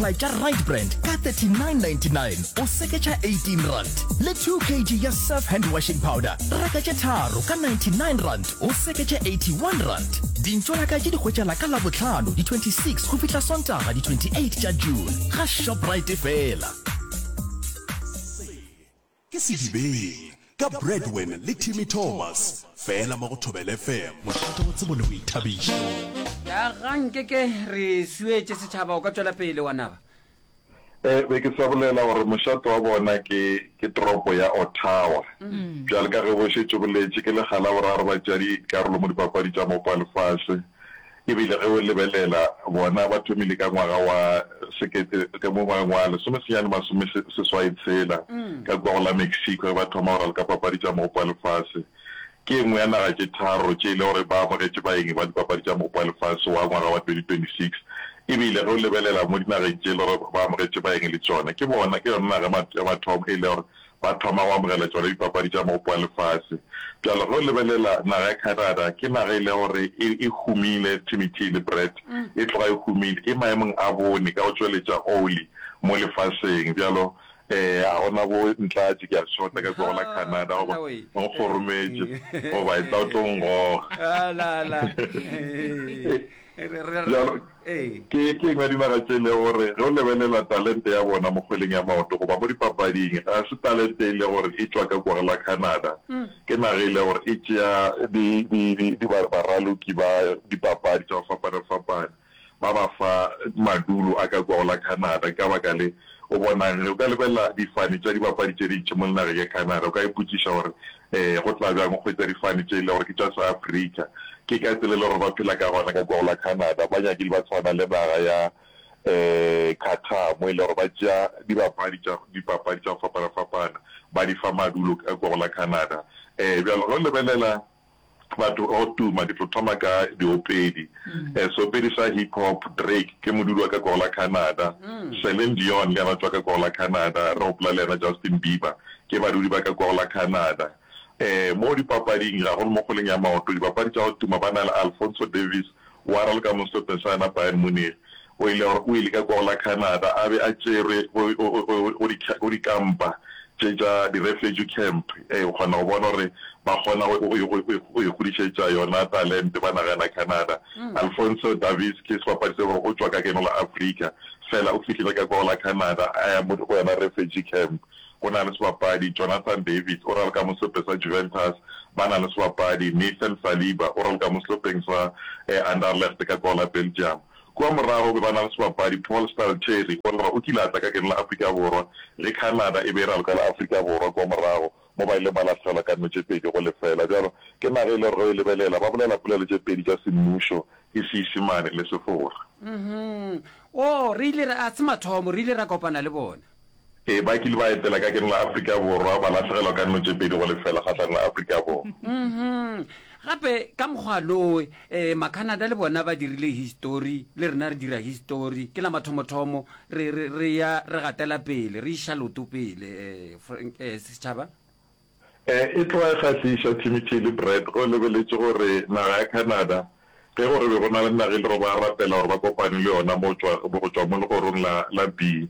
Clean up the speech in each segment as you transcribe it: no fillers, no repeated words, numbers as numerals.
Tša Right Brand ka 39.99 o seketša R18 le 2 kg ya Surf hand washing powder reka tše tharo ka R99 o seketše R81. Dintšolaka tše di hwetšala ka Labohlano di 26 go fihla Sontaga di 28 tša June ga Shoprite fela. Se ke Sedibeng ka Bradwin le Timmy Thomas fela mo go Thobela FM, mošate wa tsebo le boithabišo. Ya ga nke ke re suetše setšhaba o ka tšwela pele wa naba. E, be ke sa bolela gore mošate wa bona ke, ke toropo ya Ottawa. Bjale ka ge bo šetše boletše, ke lekga la boraro ba tšea dikarolo mo dipapadi tša Mopo wa Lefase. E bile ge o lebelela, bona ba thomile ka ngwaga wa sekete, ka mo ngwageng wa lesomesenyane masomeseswai tshela, ka kua go la Mexico, ge ba thoma go raloka papadi tša Mogopo wa Lefase. Ke e nngwe ya naga tše tharo tše e le gore ba amogetše baeng ba dipapadi tša Mogopo wa Lefase wa ngwaga wa 2026. E bile ge o lebelela mo dinageng tše e le gore ba amogetše baeng le tšona, ke bona, ke yona naga ya mathomo e le gore ba thoma go amogela tšona dipapadi tša Mogopo wa Lefase. Bjalo ge o lebelela naga ya Canada, ke naga e le gore e, e humile, Timothy le Brett, e tloga e humile, e maemong a bone ka go tšweletša oli mo lefaseng. Bjalo um ga gona bo Ntlatše, ke a šota ka kua go la Canada, goba o nkgorometše, goba etla o tlo ngoga. Bjalo, ke ke engwe ya dinaga tše e lego gore ge o lebelela talente ya bona mo kgweleng ya maoto goba mo dipapading, ga se talente e lego gore e tšwa ka kua go la Canada. Ke naga e lego gore e tšea di, di, di, di ba, baraloki ba dipapadi tša go fapana-fapana, ba ba fa madulo a ka kua go la Canada. Ka baka le, o bonang ge o ka lebelela difane tša dibapadi tše dintši mo nageng ya Canada, o ka ipotšiša gore Ee, go tla bjang go hwetša difane tše e le gore ke tša Seafrika? Ke ka tsela e le gore ba phela ka gona ka kua go la Canada. Ba nyakile ba tshwana le naga ya Qatar mo e le gore ba tšea dibapadi tša dipapadi tša go fapana-fapana ba di fa madulo ka kua go la Canada. Bjalo ge o lebelela batho ba go tuma, ke tlo thoma ka diopedi. Seopedi sa hip hop Drake ke modudi wa ka kua go la Canada. Celine Dion le yena o tšwa ka kua go la Canada. Re gopola le yena Justin Bieber ke badudi ba ka kua go la Canada. Mo dipapading, gagolo mo kgweleng ya maoto, dibapadi tša go tuma ba na le Alphonso Davies wa raloka mo sehlopheng sa yona Bayern Munich. O ile gore o ile ka kua go la Canada a be a tšerwe go, go, go, go di, go dikampa tše tša di-refugee camp. Ee, o kgona go bona gore ba kgona go, go, go, go, go ikgodišetša yona talente ba naga yana Canada. Alphonso Davies ke sebapadi se gore o tšwa ka keno la Afrika, fela o fihlile ka kua go la Canada a ya mo go yona refugee camp. Go na le sebapadi Jonathan David, o raloka mo sehlopheng sa Juventus. Ba na le sebapadi Nathan Saliba, o raloka mo sehlopheng sa Anderlecht ka kua la Belgium. Kua morago be ba na le sebapadi Paul Stalteri, o re o kile a tla ka keno la Afrika Borwa ge Canada e be e raloka le Afrika Borwa kua morago mo ba ileng ba lahlegelwa ka 2 go lefela. Bjalo ke naga e le gore ge o e lebelela ba bolela polelo tše pedi tša semmušo, ke Seisemane le Sefora. Mhm. Oh, re ile ra, a se mathomo, re ile ra kopana le bona. Ee, ba kile ba etela ka keno la Afrika Borwa, ba lahlegelwa ka 2 go lefela kgahlanong le Afrika Borwa. Mhm. Gape ka mokgwa lowe, eh, Macanada le bona ba dirile histori, le rena re dira histori. Ke la mathomothomo re, re, re ya re gatela pele, re iša loto pele, eh, Frank, eh, setšhaba. Eh, e tloga e kgahliša, Timothy le Brad, ge o lebeletše gore naga ya Canada, ge gore be go na le naga e le gore ba rapela gore ba kopane le yona mo tšwa, go tšwa mo legorong la, la B,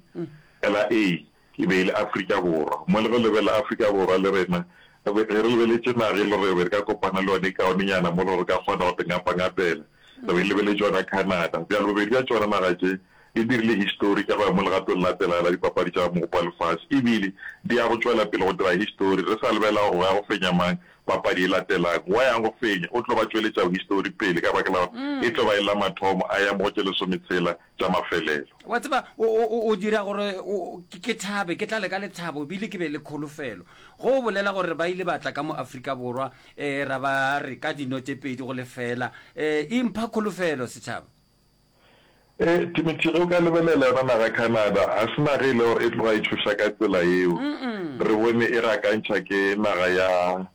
la A, e be e le Afrika Borwa. Mo le ge o lebelela Afrika Borwa le rena, ge re lebeletše naga e le gore re be re ka kopana le yona e kaonenyana mo le gore re ka kgona go te ngapangapela, re be re lebeletše yona Canada. Bjale bobedi bja tšona naga tše di dirile histori ka go ya mo legatong la tsela la dipapadi tša Mogopo wa Lefase e bile di ya go tšwela pele go dira histori. Re sa lebela gore go ya go fenya mang papadi e latelago. Wa yang go fenya o tlo ba tšweletšago histori pele ka baka la gore e tlo ba e le la mathomo a ya mo go tše lesometshela tša mafelelo. Wa tseba, o, o, o, o dira gore o, ke, ke thabe, ke tlale ka lethabo ebile ke be le kholofelo. Go o bolela gore ba ile ba tla ka mo Afrika Borwa, eh, ra ba re ka dino tše 2-0, eh, e mpha kholofelo, setšhaba. Ee, Timothy, ge o ka lebelela yona naga Canada, ga se naga e le gore e tloga e tšhoša ka tsela yeo. Re bone e gakantšha ke naga ya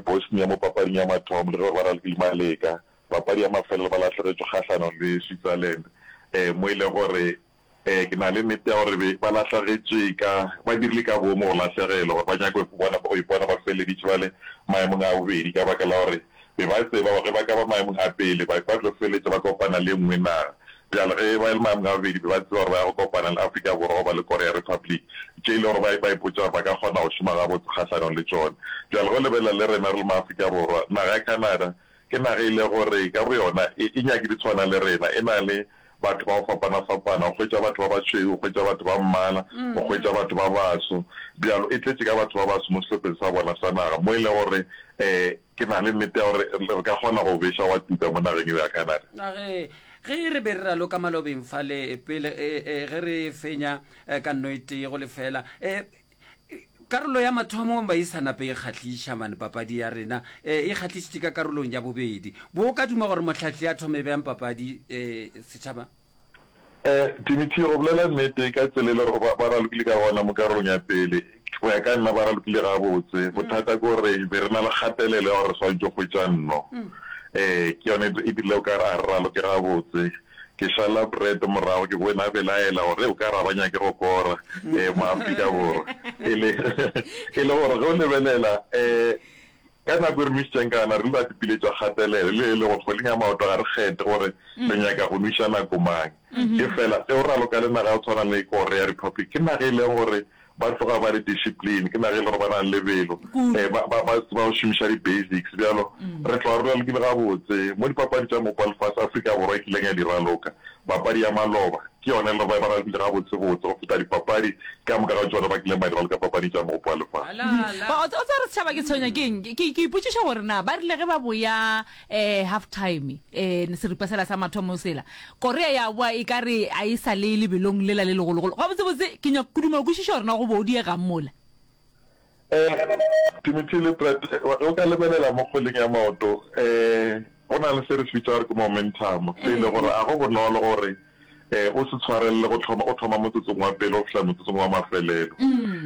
Bosnia mo papading ya mathomo, le ge gore ba ralokile maleka. Papadi ya mafelelo ba lahlegetšwe kgahlanong le Switzerland, mo e lego gore ke na le nnete ya gore be ba lahlagetšwe ka, ba dirile ka boomo go lahlegelwa gore ba nyake go bona, go ipona ba feleleditše ba le maemong a bobedi ka baka la gore Be ba tseba gore ge ba ka ba maemong a pele, ba, ba tlo feletša ba kopana le e nngwe naga. Bjale ge ba le maemong a bobedi be ba tseba gore ba ya go kopana le Afrika Borwa goba le Korea Republic, tše e le gore ba ba ipotša gore ba ka kgona go šoma gabotse kgahlanong le tšona. Bjale ge o lebelela le rena re le maAfrika Borwa, naga ya Canada ke naga e le gore ka boyona e e nyakile tshwana le rena, e na le batho ba go fapana-fapana, o hwetša batho ba bašweu, o hwetša batho ba mmala, o hwetša batho ba baso. Bjalo e tletše ka batho ba baso mo sehlopheng sa bona sa naga, mo e lego gore um ke na le nnete ya gore re ka kgona go beša wa tuka mo nageng eo ya Canada. A ge, ge re be re raloka malobeng fale pele, e, e, ge re fenya ka nno e tee go lefela, e, karolo ya mathomo ba e sa nape e kgahliša mane papadi ya rena e, e kgahlišitše ka karolong ya bobedi. Bo ka duma gore mohlahli a thome bjang papadi e, setšhaba? Eh, Timothy, go bolela nnete, ka tsela e le gore ba, ba ralokile ka gona mo karolong ya pele, go ya ka nna ba ralokile gabotse. Bothata ke gore be re na le kgatelelo ya gore re swanetše go hwetša nno. Eh, ke yone e dirile o ka re a re raloke gabotse. Ke šala Brad morago, ke bone a belaela gore o ka re a ba nyake go kora, eh, mo Afrika Borwa. E le, e le gore ge o lebelela, eh, Ka nako e re nwišitšeng ka yona, re ile ra tipiletša kgatelelo, le e le gore kgweleng ya maoto ga re kgethe gore re nyaka go nwiša nako mang. Efela ge o raloka le naga ya go tshwana le Korea Republic, ke naga e leng gore ba tloga ba le discipline, ke naga e leng gore ba na le lebelo, ba, ba, ba tseba go šomiša di-basics. Bjalo re tloga re ralokile gabotse mo dipapadi tša Mopa Lefase Afrika Borwa e kileng ya di raloka. Papadi ya maloba ke yona e le gore ba ralokile gabotsebotse go feta dipapadi ka moka ga tšona ba kileng ba di raloka papading tša Mogopo wa Lefase. Ba, o tseba gore setšhaba ke tshwenya ke eng? Ke, ke ipotšiša gore na ba rile ge ba boya um half time, um seripa sela sa mathomo sela, Korea ya boa e ka re a e sa le lebelong lela le legologolo. Gabotsebotse ke nyaka ke duma go kwešiša gore na go bo o diegang mola. Timothy le Brad, ge o ka lebelela mo kgweleng ya maoto, go na le se re se bitša gore ke momentum, se e le gore ga go bonolo gore o se tshwarelele go thoma, o thoma motsotsong wa pele go fihla motsotsong wa mafelelo.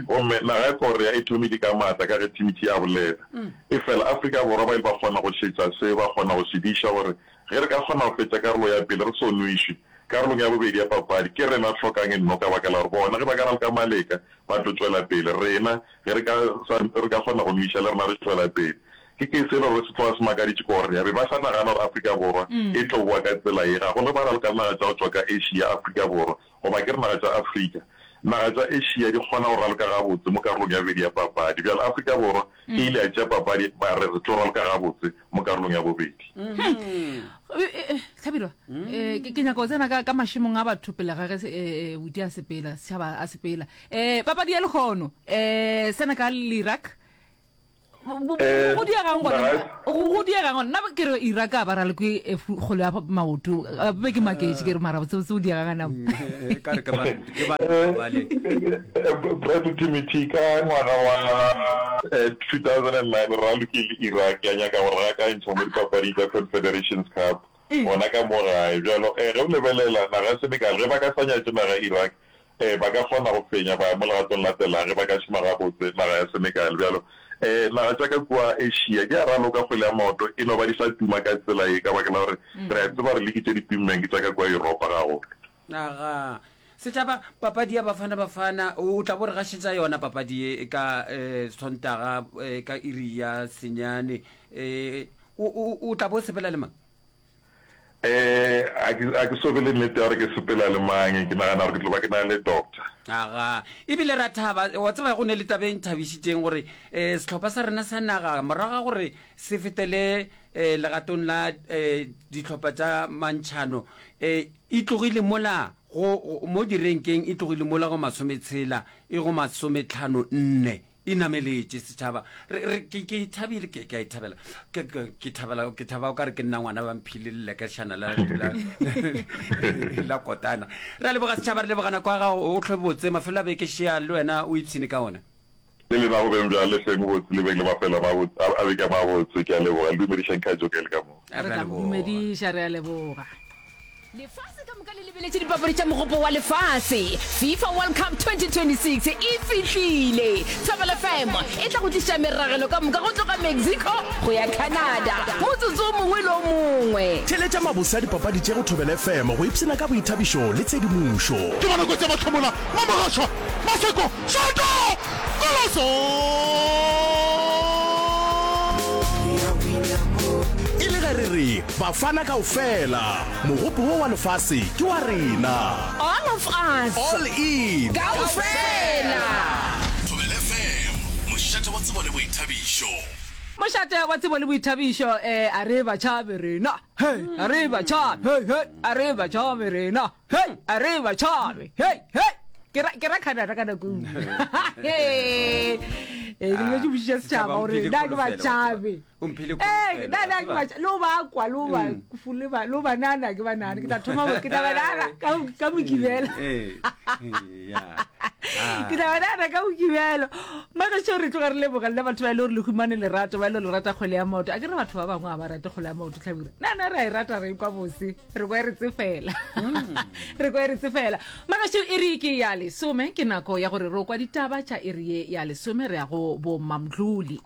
Gomme naga ya Korea e thomile ka maatla ka ge Timothy a bolela. Efela Afrika Borwa ba ile ba kgona go šetša se, ba kgona go se diša gore ge re ka kgona go fetša karolo ya pele re so nwešwe, karolong ya bobedi ya papadi ke rena re hlokang nno ka baka la gore bona ge ba ka raloka maleka Ba tlo tšwela pele. Rena, ge re ka, sa, re ka kgona go nwiša, le rena re tšwela pele. Ke, ke selo re se tloga se makaditše ke gore, be ba sa nagana gore Afrika Borwa e tlo boa ka tsela ye. Gagolo ge ba raloka le naga tša go tšwa ka Asia, Afrika Borwa, goba ke re naga tša Afrika. Naga tša Asia di kgona go raloka gabotse mo karolong ya bobedi ya papadi. Bjale Afrika Borwa e ile ya tšea papadi, ba re re tlo raloka gabotse mo karolong ya bobedi. Hlabirwa, ke nyaka go tsena ka mašemong a batho pele ga ge Buti a sepela, setšhaba a sepela. Papadi ya lehono, Senegal le Iraq, go diegang gona? Go diegang gona? Nna ke re Iraq a ba raloke kgwele ya maoto, be ke maketše ke re mara botsebotse go diegang gana mo? Brad Timothy, ka ngwaga wa 2009 re ralokile Iraq ya nyaka go re gakantšha mo dipapading tša Confederations Cup gona ka mo gae. Bjalo ge o lebelela naga ya Senegal ge ba ka sa nyatše naga ya Iraq ba ka kgona go fenya ba ya mo legatong la latelang ge ba ka šoma gabotse naga ya Senegal. Bjalo naga tša ka kua Asia di a raloka kgwele ya maoto e no ba di sa tuma ka tsela ye ka baka la gore re a tseba gore liki tše di tummeng ke tša ka kua Yuropa gagolo. Aga. Setšhaba, papadi ya Bafana Bafana, o tla bo re gašetša yona papadi ye ka eh, Sontaga eh, ka iri ya senyane. Eh, o, o, o tla bo sepela le mang? Eh, a ke, a ke so be le nnete ya gore ke sepela le mang, ke nagana gore ke tlo ba ke na le doctor. Aga. Ebile ra thaba, wa tseba go ne le taba e nthabišitšeng gore eh, sehlopha sa rena sa naga morago ga gore se fetele eh, legatong la eh, dihlopha tša mantšhano eh, E tlogile mola go, go, mo direnkeng, e tlogile mola go masometshela, e go masometlhano nne. E nameletše, setšhaba. Re, re, ke, ke e thabile, ke, ke a e thabela. Ke, ke, ke thabela, ke thaba o ka re ke nna ngwana ba mphile lelekešana la, la, la kotana. Re a leboga setšhaba, re leboga nako ya gago, o hlwe botse, mafelo a beke šea, le wena o ipshine ka ona. Le lena go beng bjale hleng botse le beng le mafelo a mabotse a a beke a mabotse. Ke a leboga. Le dumedišang Khajo ge le ka moo. Re tla go dumediša, re a leboga. Lefase ka moka le lebeletše dipapadi tša Mogopo wa Lefase. FIFA World Cup 2026 e fihlile! Thobela FM e tla go tliša meragelo ka moka go tloga Mexico go ya Canada motsotso o mongwe le o mongwe. Theeletša mabose a dipapadi tše go Thobela FM go ipshina ka boithabišo le tshedimošo. Ke bona kotsi ya mahlomola, Mamogašwa, Maseko, Šoto! Koloso! E le ge re re. Bafana kaofela, mogopo wo wa lefase ke wa rena. All of us. All in. Kaofela. Thobela FM, mošate wa tsebo le boithabišo. Mošate wa tsebo le boithabišo, eh, a re ba tšhabe rena, hey, a re ba tšhabe, hey, hey, a re ba tšhabe rena, hey, a re ba tšhabe, hey, hey. Ke ra, ke ra Canada ka nako e nngwe. Hey, eh, ke lebetše botšiša setšhaba gore na ke ba tšhabe. O mphile Ee, kholofelo, na wa na ke tseba. ba tša- le o ba kwa, le o ba fu- le ba- le o banana ke banana. Ke tla thoma go- ke tla banana ka ka Mokibelo. Ee, ee, ya. Ah. Ke tla banana ka Mokibelo. Magešo re tloga re leboga lena batho ba e le gore le humane lerato, ba e le gore le rata kgwele ya maoto. A ke re batho ba bangwe ga ba rate kgwele ya maoto, Hlabirwa. Na na re a e rata re kwa bose, re kwa e re tsefela. Re kwa e re tsefela. Magešo iri ke ya lesome, ke nako ya gore re o kwa ditaba tša iri ye ya lesome re ya go bo Mamdluli.